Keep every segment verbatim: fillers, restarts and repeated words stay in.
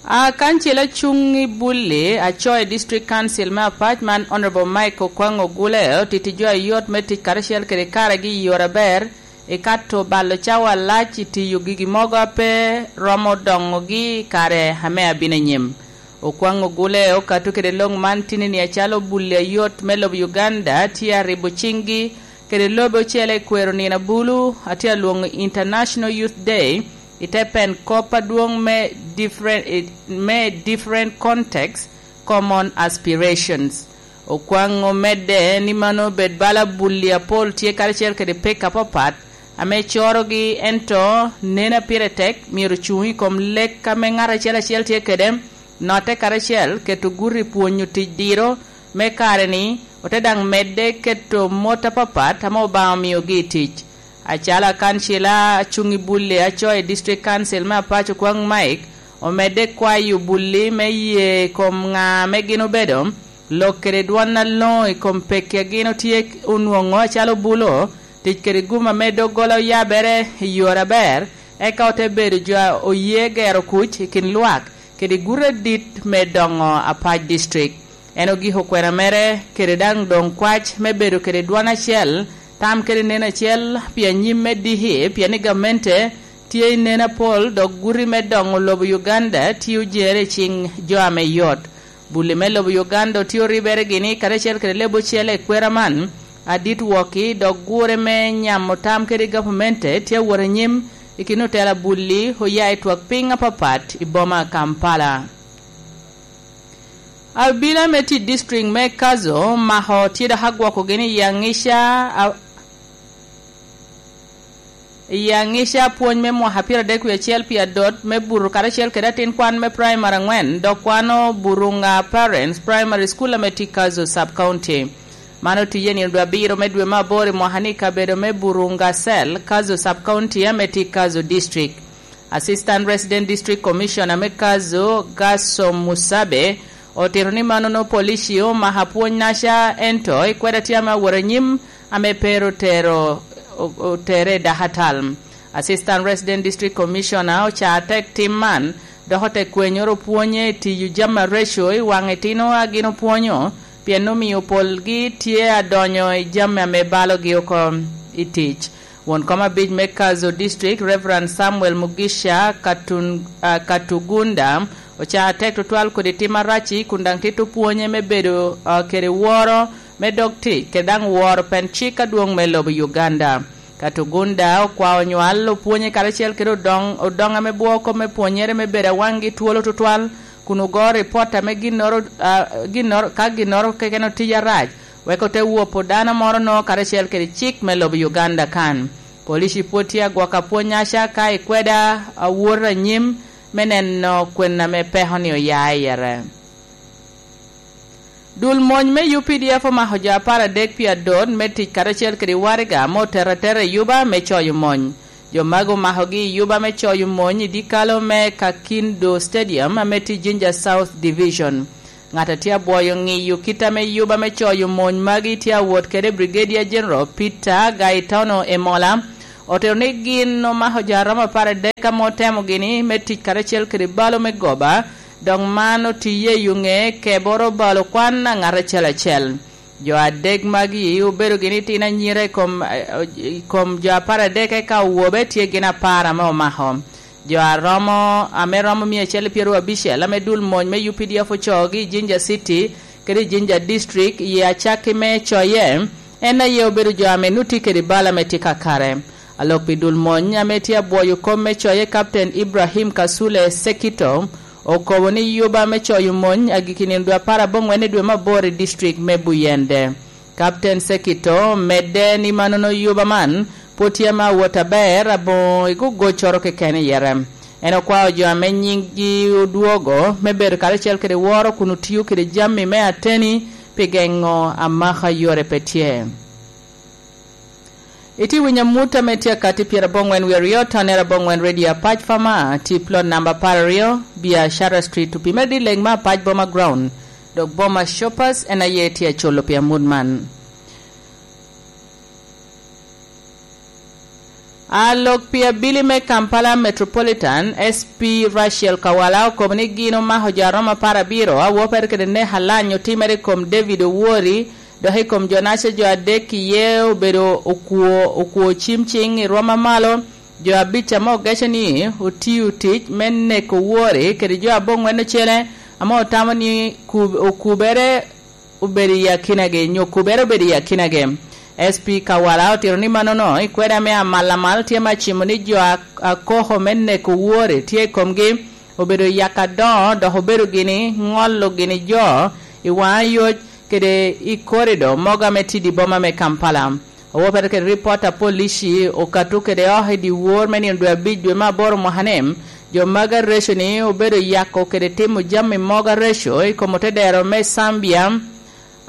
A kancil acuŋ i Bulli, acoo i District Council me Apac man, Honorable Mike Okwaŋ Ogule, otiti jo a yot me tic karacel kede karegi i yore aber, i kato balo cawa alac i tiyo gigi mogo a pe romo doŋogi i kare ame abino anyim. Okwaŋ Ogule okato kede lok man tinini acalo Bulli a yot me lobo Uganda tye a ribo ciŋgi kede lobe ocele i kwero nino abulu, atye alwoŋo International Youth Day, i te pen kop adwoŋ me different, me different context, common aspirations. Okwaŋ omedde ni mano obed bala Bulli apol tye karacel kede pek apapat, ame corogi, ento nene a pire tek myero ocuŋ i kom lek ame ŋat acel acel tye kede, notte karacel, keto guti i pwonyo tic diro me kare-ni, ote daŋ medde keto mot apapat ame Obaŋa omiogi i tic. Acalo akancila acuŋ i Bulli acoo i District Council me Apac Okwaŋ Mike, omedde kwayo Bulli me ye i kom ŋa ame gin obedo, lok kede dwon aloŋo i kom pekki a gin otye onwoŋo acalo bulo, tic kede gum ame doggola oyabere i yore aber, eka ote bedo jo a oye gero kuc i kin lwak kede guti adit me doŋo Apac District. En ogiko kwena mere kede daŋ doŋ kwac me bedo kede dwon acel, tam kede neno acel pi anyim me diki, pien i gamente tye i neno apol, dok guti me doŋo lobo Uganda tye ojeŋere i ciŋ jo ame yot. Bulli me lobo Uganda otye oribere gini karacel kede leb ocele i kwera man, adit wokki, dok gure me nyamo tam kede gavamente tye awot anyim i kin otela Bulli oya i twak piny apapat i boma Kampala. Abila me tic district me Kazo omako tye dok agwokogi ni i aŋica a-, i aŋica pwony me mwaka pyeradek wie acel pi adot me buto karacel kede atin kwan me primary aŋwen, dok kwano Burunga Parents Primary School ame tye Kazo Sub County. Man otiye nino dwe abiro me dwe me aboro i mwaka ni i kabedo me Burunga Cell, Kazo Sub County ame tye Kazo District. Assistant Resident District Commissioner me Kazo, Gaso Musabe, otito ni manono polici omako apwony-naca, ento ikweda tye ame awot anyim ame pe ru tero, o-, otere i dakatal. Assistant Resident District Commissioner oca tek tim man, dok ote kwenyoro pwonye i tiyo jami areco i waŋ itino a gin opwonyo, pien omio polgi tye adonyo i jami ame balogi oko i tic. Won kom abic me Kazo District, Reverend Samuel Mugisha Katun-, ah, Katugunda, oca tek tutwal kodi tim arac-ci, kun daŋ tito pwonye me bedo, ah, kede woro me dog tic, kede daŋ woro pen cik adwoŋ me lobo Uganda. Katugunda okwao nywal opwonye karacel kede odoŋ, odoŋ ame bwoo kop me pwonyere me bedo awaŋgi twolo tutwal, kun ogo ripot ame ginnoro, ah, ginnoro, ka ginnoro keken otic arac, wek ote wopo dano moro-no karacel kede cik me lobo Uganda kan. Polici pwod tye agwoko apwony-naca ka ikweda awot anyim me neno kwena ame peko-ni oya i yere. Dul mony me U P D F omako jo apar adek pi adot me tic karacel kede waraga ame oteto atera i yuba me coyo mony. Jo magi omakogi i yuba me coyo mony i dyekalo me Kakindo Stadium ame tye Jinja South Division. Ŋat a tye abwoyo ŋiyo kit ame yuba me coyo mony magi tye awot kede, Brigadier General Peter Gaetano Emola, otito ni gin omako jo a romo apar adek ame otemo gini me tic karacel kede balo me goba, dok man otiye i ŋe keboro balo kwan a ŋat acel acel. Jo adek magi obedo gini tino anyira i kom, i kom jo apar adek, eka owobe tye gin apar ame omako. Jo a romo, ame romo mia acel pyeraryo abicel, ame dul mony me U P D F ocoogi i Jinja City kede i Jinja District, i acakki me coye, en aye obedo jo ame nut tye kede bal ame tye kakare. Alok pi dul mony ame tye abwoyo kom me coye, Captain Ibrahim Kasule Sekito, okobo ni yuba me coyo mony agikki nino dwe apar aboŋwen i dwe me aboro i district me Buyende. Captain Sekito omedde ni manono yuba man pwod tye ame awot aber aboŋo i gogoccoro keken i yere. En okwao jo ame nyinggi odwogo me bedo karacel kede woro kun otio kede jami me ateni pi geŋo amaka yore pe tye. Itye winyo amut ame tye akati pyeraboŋwen wie aryo, tonere aboŋwen Radio Apac Fama, tye plot namba apar aryo, Biashara Street, opimere dileg me Apac Boma Ground, dok Boma Shoppers en aye tye aculo pi amut man. A lok pi abili me Kampala Metropolitan, S P Rachel Kawala okobo ni gin omako jo a romo apar abiro, a wopere kede nek alany otimere i kom David Owori, dok i kom jo-naca jo adek iye obedo okwo, okwo cim ciŋ i rwom amalo, jo abic ame ogeco ni otio tic me neko Owori kede jo aboŋwen ocele ame otamo ni kub-, okubere obedo i akinagi, nyo kubere obedo i akinagi. S P Kawala otito ni mannono i kwede ame amal amal tye me acimo ni jo a, a koko me neko Owori tye i komgi, obedo yak adoŋo, dok obedo gini ŋolo gini jo i waŋ ayoc kede i korido mogo ame tye i boma me Kampala. Owopere kede ripot a polici okato kede oko i dyewor me nino dwe abic dwe me aboro mwaka-ni, jo magi areco ni obedo yako kede timo jami mogo areco i kom otedero me Zambia,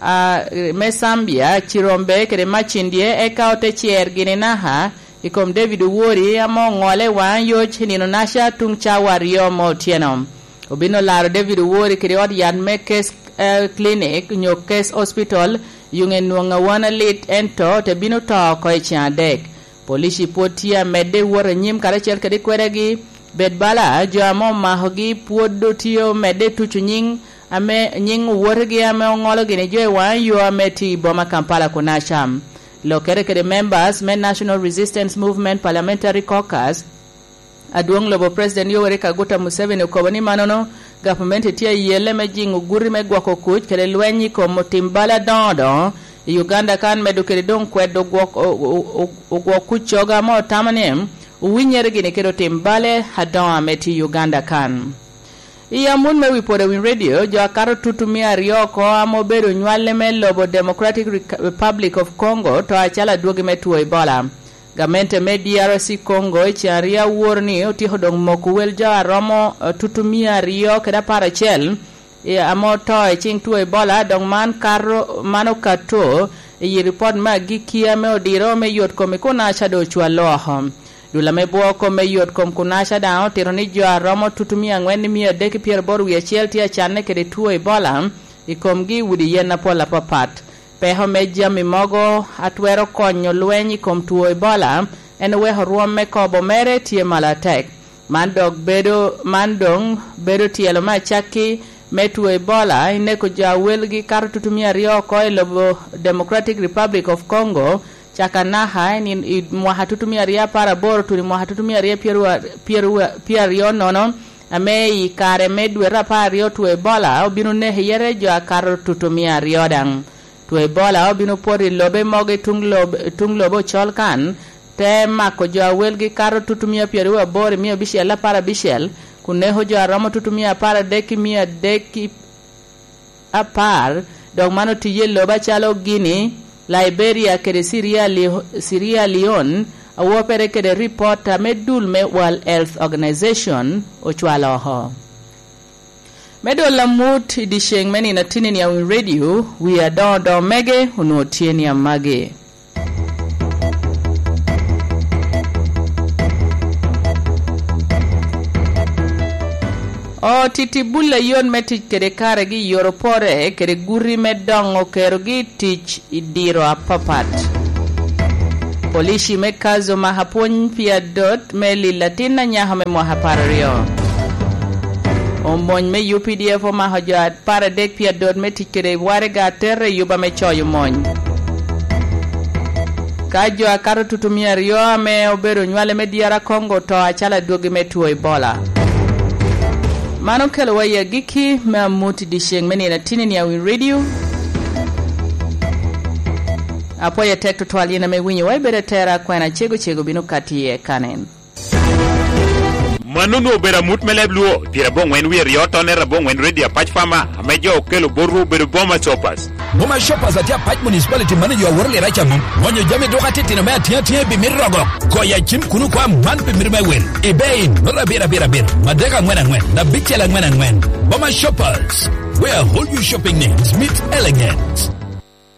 a, me Zambia, Cirombe kede Macindye, eka ote cer gini naka i kom David Owori ame oŋole i waŋ ayoc i nino naca tuŋ cawa aryo me otyeno. Obin olaro David Owori kede ot yat me Case, eh, Clinic nyo Case Hospital, yuŋe nwoŋ awan alit, ento te bino to oko i ceŋ adek. Polici pwod tye amedde wot anyim karacel kede kwedegi. Bed bala, jo ame omakogi pwod otye omedde tuco nyiŋ ame, nyiŋ owotegi ame oŋolo gini jo i waŋ yo ame tye i boma Kampala kunaca. Lokere kede members me National Resistance Movement Parliamentary Caucus, Adwoŋ lobo President Yoweri Kaguta Museveni okobo ni mannono, gavumenti tye ayelle me jiŋo guti me gwoko kuc kede lweny i kom otim bal adoŋo doŋo i Uganda kan, medo kede doŋ kwedo gwok-, o-, o-, o-, ogwok kuc cogo ame otamo ni owinyere gini kede otim bale adoŋo ame tye i Uganda kan. I amut me wi pwod Winy Radio, jo akato tutu mia aryo oko ame obedo nywale me lobo Democratic Reca-, Republic of Congo to acalo adwogi me two Ebola. Gamente me D R C Congo i ceŋ aryo awor ni otyeko doŋ moko wel jo a romo, eh, tutu mia aryo kede apar acel, eh, ame oto i ciŋ two Ebola, dok man kato, man okato i ripot me agikki ame odiro me yot kom i kunaca doŋ ocwallo oko. Dul ame bwoo kom me yot kom kunaca daŋ otito ni jo a romo tutu mia aŋwen i mia adek i pyeraboro wie acel tye acanne kede two Ebola i komgi i udi yen apol apapat. Peko me jami mogo a twero konyo lweny i kom two Ebola en oweko rwom me kobo mere tye malo atek. Man dok bedo, man doŋ bedo tyelo me acakki me two Ebola, i neko jo a welgi kato tutumia aryo oko i lobo Democratic Republic of Congo, caka naka i nin-, i mwaka tutumia aryo apar aboro tuno i mwaka tutumia aryo pyerwa-, pyerwa-, pyeraryo nono, ame i kare me dwe apar aryo two Ebola obino neko iye jo akato tutumia aryo daŋ. Two Ebola obino poto i lobe mogo i tuŋ lob-, tuŋ lobo ocol kan, te mako jo a welgi kato tutumia pyeraryo aboro i mia abicel apar abicel, kun neko jo a romo tutumia apar adek i mia adek i apar, dok man otiye i lobo acalo Guinea, Liberia kede Sierra Leo-, Sierra Leone, awopere kede ripot ame dul me World Health Organization ocwalo oko. Me dolo amut i dyeceŋ me nino atinni a Winy Radio, wi adoŋo doŋo mege onwoŋo tye ni amagi. Otiti bul ayot me tic kede karegi i yor opore kede guti me doŋo kerogi i tic i diro apapat. Polici me Kazo omako apwony pi adot me lil atin anyaka me mwaka apar aryo. Omony me U P D F omako jo apar adek pi adot me tic kede waraga atere i yuba me coyo mony. Ka jo akato tutumia aryo ame obedo nywale me D R Congo oto acalo adwogi me two Ebola. Man okelowa i agikki me amut i dyeceŋ me nino atinni a Winy Radio. Apwoyo atek tutwal yin ame iwinyowa, ibedo atera, kwena cego cego bino kati iye kanen. Mano onwoŋo obedo amut me leb Luo, pyeraboŋwen wie aryo tonne raboŋwen Radio Apac Farmer, ame jo okelo botwu obedo Boma Shoppers. Boma Shoppers atye Apac Municipality, mano jo aworo lira ca mom. Gonyo jami duka titino me atiŋ atiŋ i bimit rogo. Goyo acim kuno kwa man bimit me wil. Ebay, nota abiro abiro abiro, madek aŋwen aŋwen, abicel aŋwen aŋwen. Boma Shoppers, where all your shopping needs meet elegance.